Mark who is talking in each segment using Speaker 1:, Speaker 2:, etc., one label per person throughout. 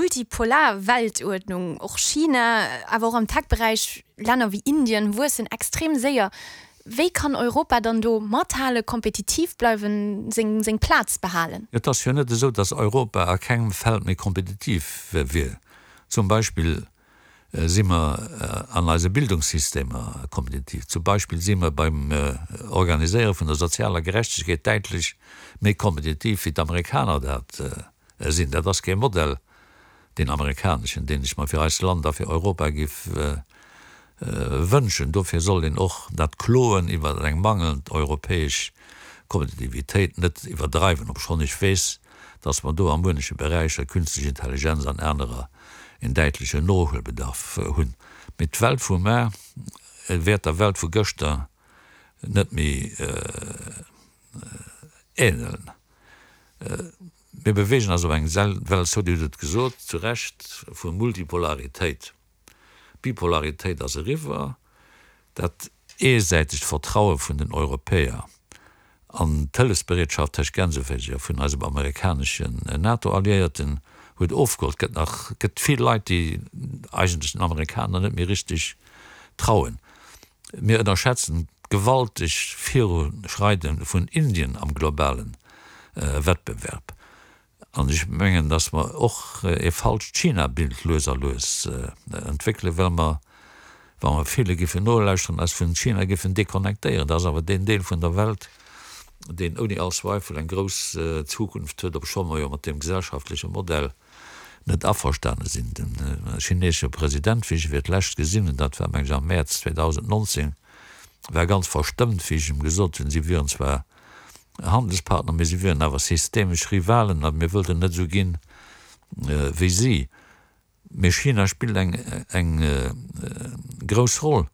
Speaker 1: multipolar Weltuerdnung. Och China, awer och am Tech-Beräich Länner wéi Indien wuessen extrem séier. Wéi kann Europa dann do mathalen, kompetitiv bleiwen, seng seng Plaz behalen?
Speaker 2: Et ass jo net esou, datt Europa a kengem Feld méi kompetitiv wier. Zum Beispill si mer an eise Bildungssystemer kompetitiv. Zum Beispill si mer beim Organiséiere vun der sozialer Gerechtegkeet däitlech méi kompetitiv wéi d'Amerikaner dat sinn. Dat ass kee Modell, deen amerikaneschen, deen ech mer fir eist Land a fir Europa géif wënschen. Dofir soll een och dat Kloen iwwer eng mangelnd europäesch Kompetitivitéit net iwwerdreiwen, obschonn ech weess, dass mer do a mueneche Beräicher, künstlich Intelligenz an anerer, een däitlechen Nohuelbedarf hunn. Mee d'Welt vu mar wäert der Welt vu gëschter net méi ähneln. Mir beweegen eis op eng Welt zou, Dir hutt et gesot, zu Recht, vu Multipolaritéit. D'Bipolaritéit ass eriwwer. Dat eesäitegt Vertraue vun den Europäer an d'Hëllefsbereetschaft tëscht Gänseféiser vun eisem amerikaneschen NATO-Alliéierten huet ofgeholl. Et gëtt nach gëtt vill Leit, déi eigentlech den Amerikaner net méi richteg trauen. Mir ënnerschätzen d'gewalteg Viruschreide vun Indien am globale Wettbewerb. An ech mengen, datt mer och e falscht China-Bild lues a lues entwéckelen, well mer, wa mer ville giffen nolauschteren, eis vun China giffen deconnectéieren. Dat ass awer deen Deel vun der Welt, deen ouni all Zweifel eng grouss Zukunft huet, obscho mer jo mat deem gesellschaftleche Modell net averstane sinn. De chinesesche President, wéi ech e fir d'lescht gesinn hunn, dat war meng ech am Mäerz 2019, war ganz verstëmmt, wéi ech em gesot hunn, si wieren zwar Handelspartner, mee si wieren awer systemesch Rivalen a mir wëllten net esou ginn wéi si. Mee China spillt eng eng grouss Roll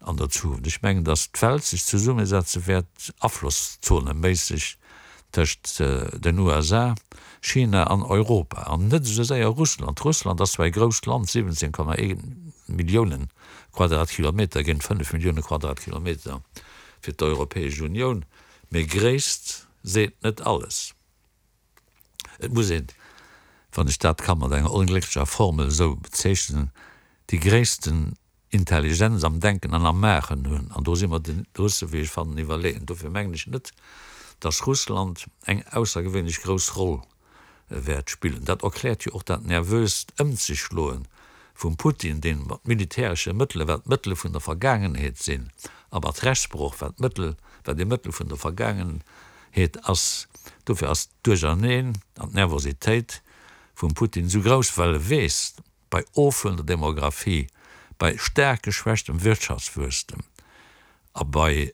Speaker 2: an der Zukunft. Ech mengen, datt d'Welt sech zesummesetze wäert, aflosszoneméisseg, tëscht den USA, China an Europa an net esou séier Russland. Russland ass zwar e grousst Land, 17,1 Millioune Quadratkilometer géint 5 Millioune Quadratkilometer fir d'Europäesch Unioun, mee Gréisst seet net alles. Et muss een, wann ech dat ka mat enger onglécklecher Formel esou bezeechnen, déi gréissten Intelligenz am Denken an am Maachen hunn, an do si mer de Russe, wéi ech fannen, iwwerleeën. Dofir mengen ech net, datt Russland eng aussergewéinlech grouss Roll wäert spillen. Dat erkläert jo och dat nervöst Ëmzechschloe vum Putin, deen mat militäresche Mëttele, wat Mëttele vun der Vergaangenheet sinn, a mat Rechtsbroch, wat Mëttel, wat ee Mëttel vun der Vergaangenheet ass. Dofir ass d'Duercherneen an d'Nervositéit vum Putin esou grouss, well e weess, bei ofhuelender Demographie, bei staark geschwächtem Wirtschaftswuesstem a bei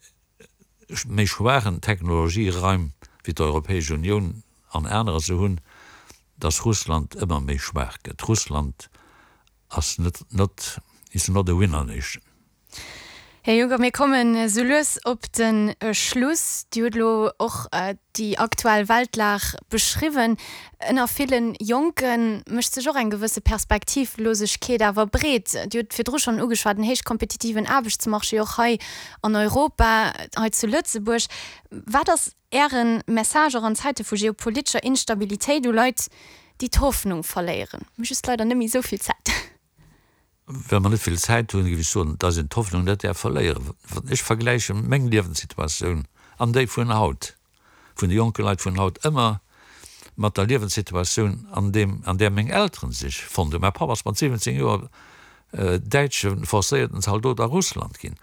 Speaker 2: méi schwaachen Technologieraim wéi d'Europäesch Unioun an anerer se hunn, datt Russland ëmmer méi schwaach gëtt. Russland ass net not is not a winner nation.
Speaker 1: Här Juncker, mir kommen esou lues op de Schluss. Dir hutt elo och déi aktuell Weltlag beschriwwen. Ënner ville Jonke mécht sech och eng gewësse Perspektivlosegkeet awer breet. Dir hutt virdru schonn ugeschwat, en héich kompetitiven Aarbechtsmarché och hei an Europa, hei zu Lëtzebuerg. Wat ass Äre Message och an Zäite vu geopolitescher Instabilitéit u Leit, déi d'Hoffnung verléieren? Mir hu just leider net méi esou vill Zäit.
Speaker 2: Well mer net vill Zäit hunn, géif ech soen, dass een d'Hoffnung net däerf verléieren. Ech vergläiche meng Liewenssituatioun an déi vun haut, vun de jonke Leit vun haut, ëmmer mat der Liewenssituatioun, an deem, an där meng Elteren sech fonnt hunn. Mäi Papp ass mat 17 Joer däitsche forcéierten Zaldot a Russland ginn.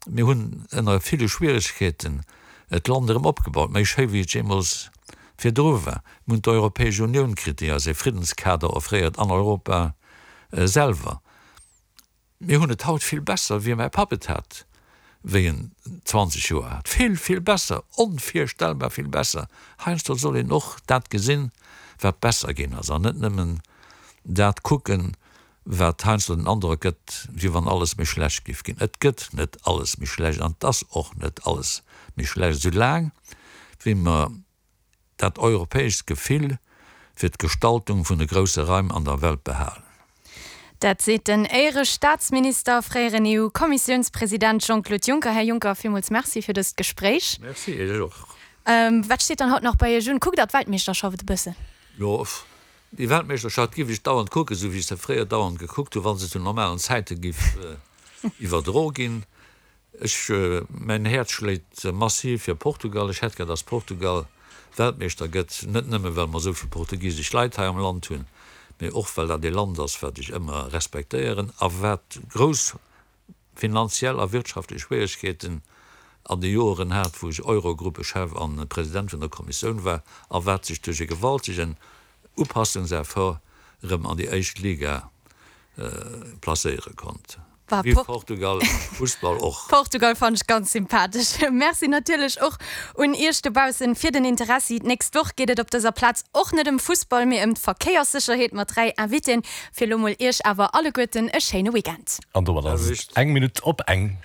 Speaker 2: Mir hunn ënner ville Schwieregkeeten d'Land erëm opgebaut, méi schéi wéi et jeemools virdru war. Mir hunn d'Europäesch Unioun kritt, déi eis e Friddenskader offréiert an Europa selwer. Mir hunn et haut vill besser, wéi mäi Papp et hat, wéi en 20 Joer hat. Vill, vill besser, onvirstellbar vill besser. Heiansdo soll een och dat gesinn, wat besser ginn ass, an net nëmmen dat kucken, wat heiansdo den Androck gëtt, wéi wann alles méi schlecht géif ginn. Et gëtt net alles méi schlecht an et ass och net alles méi schlecht, soulaang wéi mer dat europäescht Gefill fir d'Gestaltung vun de grousse Raim an der Welt behalen.
Speaker 1: Dat seet den Éierestaatsminister a fréieren EU-Kommissiounspresident Jean-Claude Juncker. Här Juncker, villmools Merci fir dëst Gespréich.
Speaker 2: Merci Iech och.
Speaker 1: Wat steet dann haut nach bei Iech un? Kuckt Der d'Weltmeeschterschaft e bëssen?
Speaker 2: Jo. Déi Weltmeeschterschaft giff ech dauernd kucken, esou wéi ech se fréier dauernd gekuckt hunn, wa se zu normalen Zäite giff iwwerdro ginn. Ech, mäin Häerz schléit massiv fir Portugal. Ech hätt gär, dass Portugal Weltmeeschter gëtt, net nëmme well mer esou vill portugisesch Leit hei am Land hunn, mee och well dat ee Land ass, wat ech ëmmer respektéieren a wat grouss finanziell a wirtschaftlech Schwieregkeeten an de Joeren hat, wou ech Eurogruppechef an President vun der Kommissioun war, a wat sech duerch e gewaltegen Upassungseffort erëm an déi éischt Liga placéiere konnt. Vive Portugal am Fussball och!
Speaker 1: Portugal fannen ech ganz sympathesch. Merci natierlech och un iech dobaussen fir den Interessi. D'nächst Woch geet et op dëser Plaz och net ëm Fussball, mee ëm d'Verkéierssécherheet mat 3 Invitéen. Fir elo mol iech awer alleguerten e schéine Weekend.
Speaker 3: An domat ass et eng Minutt op eng.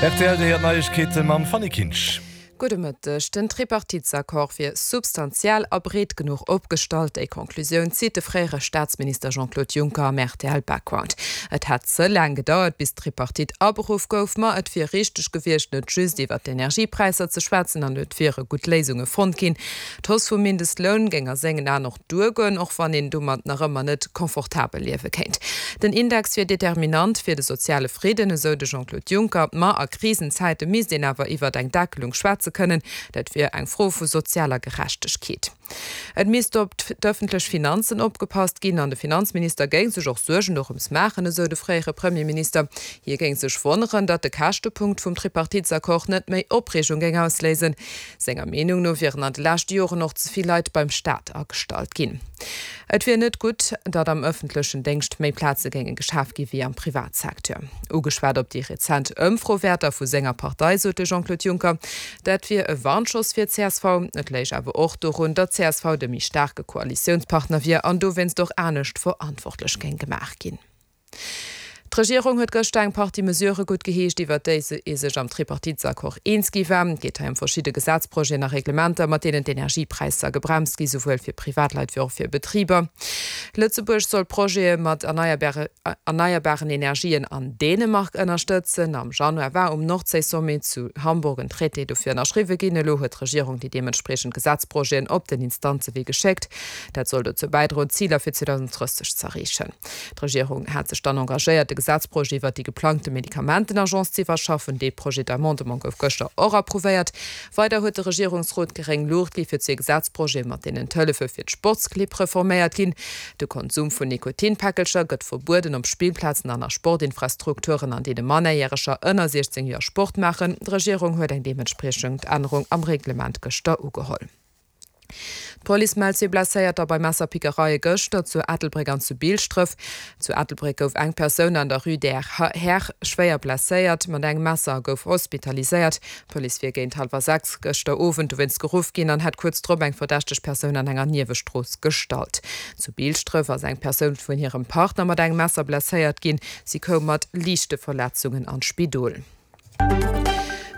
Speaker 3: Rtl, Dir héiert d'Neiegkeete mam Fanny Kinsch.
Speaker 4: Gudde Mëtteg. Den Tripartitesaccord wier substantiell a breet genuch opgestallt. Déi Conclusioun zitt de fréiere Staatsminister Jean-Claude Juncker am rtl Background. Et hätt ze laang gedauert, bis d'Tripartite aberuff gouf, ma et wier richteg gewiescht, net just iwwer d'Energiepräisser ze schwätzen an et wiere gutt Léisunge fonnt ginn. D'Hausse vum Mindestloun géing a sengen Aen och duergoen, och wann een domat nach ëmmer net confortabel liewe kéint. Den Index wier determinant fir de soziale Fridden, esou de Jean-Claude Juncker. Ma a Krisenzäite misst een awer iwwert eng Deckelung schwätze kënnen. Dat wier eng Fro vu sozialer Gerechtegkeet. Et misst op d'ëffentlech Finanzen opgepasst ginn an de Finanzminister géing sech och Suergen dorëms maachen, esou de fréiere Premierminister. Hie géing sech wonneren, datt de Käschtepunkt vum Tripartitesaccord net méi Opreegung géing ausléisen. Senger Meenung no wieren an de leschte Joren och ze vill Leit beim Staat agestallt ginn. Et wier net gutt, datt am ëffentlechen Déngscht méi Plaze géinge geschaf gi wéi am Privatsecteur. Ugeschwat op déi rezent Ëmfrowäerter vu senger Partei sot de Jean-Claude Juncker, dat wier e Warnschoss fir d'CSV. Et léich awer och dorun, datt csv de méi staarke Koalitiounspartner wier an dowéinst och anescht verantwortlech géing gemaach ginn. D'Regierung huet gëschter eng Partie Mesurë guttgeheescht, iwwert déi ee sech am Tripartitesaccord eens gi war. Et geet hei ëm verschidde Gesetzprojeten a Reglementer, mat deenen d'Energiepräisser gebremst gi, souwuel fir Privatleit wéi och fir Betriber. Lëtzebuerg soll Projete mat erneierbaren Energien an Dänemark ënnerstëtzen. Am Januar war um Nordséi-Sommet zu Hamburg en Traité dofir ënnerschriwwe ginn. Elo huet d'Regierung déi deementspriechend Gesetzprojeten op den Instanzewee geschéckt. Dat soll dozou bäidroen, d'Ziler fir 2030 z'erreechen. D'Regierung hat sech dann engagéiert, de Gesetzprojet iwwert déi geplangte Medikamentenagence z'iwwerschaffen. Dee Projet d'amendement gouf gëschter och approuvéiert. Weider huet de Regierungsrot gréng Luucht gi fir zwee Gesetzprojete, mat deenen d'Hëllefe fir d'Sportsclibb reforméiert ginn. De Konsum vun Nikotinpäckelcher gëtt verbueden op Spillplazen an a Sportinfrastrukturen, an deene Mannerjäreger ënner 16 Joer Sport maachen. D'Regierung huet eng deementspriechend Ännerung am Reglement gëschter ugeholl. D'Police mellt zwee Blesséierter bei Messerpickereie gëschter zu Ettelbréck an zu Bilschdref. Zu Ettelbréck gouf eng Persoun an der Rue der Här schwéier blesséiert mat engem Messer a gouf hospitaliséiert. D'Police wier géint hallwer 6 gëschter Owend dowéinst geruff ginn an hätt kuerz drop eng verdächteg Persoun an enger Niewestrooss gestallt. Zu Bilschdref ass eng Persoun vun hirem Partner mat engem Messer blesséiert ginn. Si koum mat liichte Verletzungen an d'Spidol.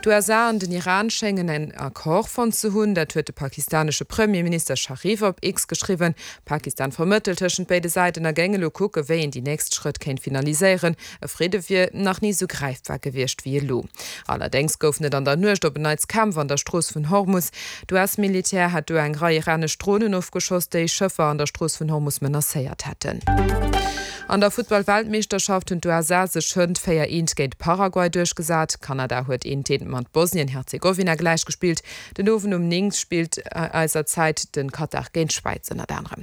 Speaker 4: D'USA an den Iran schéngen en Accord fonnt ze hunn. Dat huet de pakistanesche Premierminister Sharif op X geschriwwen. Pakistan vermëttelt tëschent béide Säiten a géing elo kucke wéi een déi nächst Schrëtt kéint finaliséieren. E Fridde wier nach ni esou gräifbar gewiescht wéi elo. Allerdéngs goufen et an der Nuecht op en Neits Kämpf an der Strooss vun Hormus. D'US-Militär hätt do eng Rei iranesch Dronen ofgeschoss, déi Schëffer an der Strooss vun Hormus menacéiert hätten. An der Futtball-Weltmeeschterschaft hunn d'USA sech hënt 4 eent géint Paraguay duerchgesat. Kanada huet eent eent mat Bosnien-Herzegowina gläichgespillt. Den Owend um 9 spillt eiser Zäit de Katar géint d'Schwäiz ënnert anerem.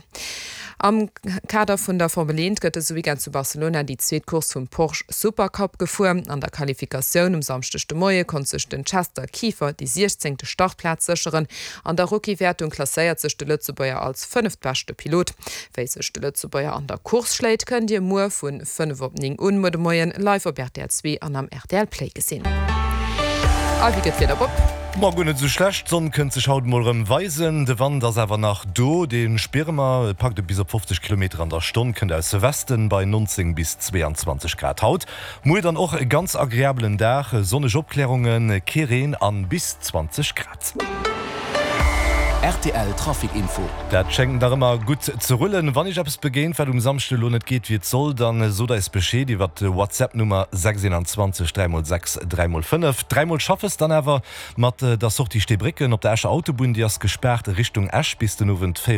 Speaker 4: Am Kader vun der Formel 1 gëtt dëse Weekend zu Barcelona déi zweet Course vum Porsche Supercup gefuer. An der Qualifikatioun um Samschdeg de Moie konnt sech den Chester Kieffer déi siechzéngte Startplaz sécheren. An der Rookie-Wäertung klasséiert sech de Lëtzebuerger als fënneftbeschte Pilot. Wéi sech de Lëtzebuerger an der Course schléit, kënnt Dir muer vu 5 op 9 un muer de Moien live op rtl 2 an am rtl Play gesinn. A wéi gëtt d'Wieder, Bob?
Speaker 3: Ma guer net esou schlecht, d'Sonn kënnt sech haut mol erëm weisen, de Wand ass awer nach do, dee spiere mer, et packt e bis op 50 Kilometer an der Stonn, kënnt aus Westen bei 19 bis 22 Grad haut. Muer dann och e ganz agreabelen Dag, sonneg Opklärungen, kee Reen an bis 20 Grad.
Speaker 5: Rtl Trafic Info.
Speaker 3: Dat schéngt nach ëmmer gutt ze rullen. Wann Iech eppes begéint, wat um Samschde elo net geet wéi et soll, dann sot eis Bescheed iwwer d'Whatsapp Nummer 6 21 3 x 6 3 x 5. Dräimol Schaffes dann awer mat der Sortie Steebrécken op der Escher Autobunn, déi ass gespaart Richtung Esch bis den Owend 4.